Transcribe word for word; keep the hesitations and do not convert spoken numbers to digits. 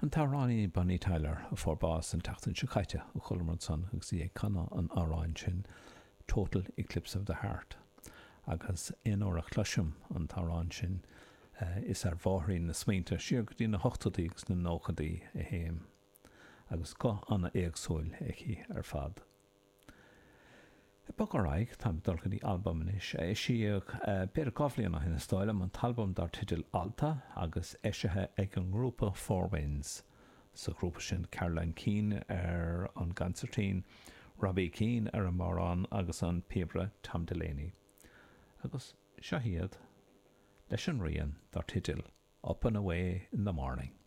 An t-amhránaí Bonnie Tyler a fuair bás an tseachtain seo caite a chualamar ansan agus í ag canadh an amhráin sin Total Eclipse of the Heart. Agus aon uair a chloisim an t-amhrán sin is ar bhóithrín na smaointe siar go dtí na hochtóidí agus na nóchaidí a théim, agus guth an-éagsúil aici ar fad. Ag bogadh ar aghaidh, táim ag dul go dtí albam anois a eisíodh b'fhéidir dhá bhliain ó shin is dóigh liom, an t-albam dar teideal Alta agus eisithe ag an ngrúpa Four Winds. Sa ghrúpa sin Caroline Keane ar an gconsairtín, Robbie Keane ar an mbodhrán agus an píobaire Tom Delaney. Agus seo iad leis an rian dar teideal Up and Away in the Morning.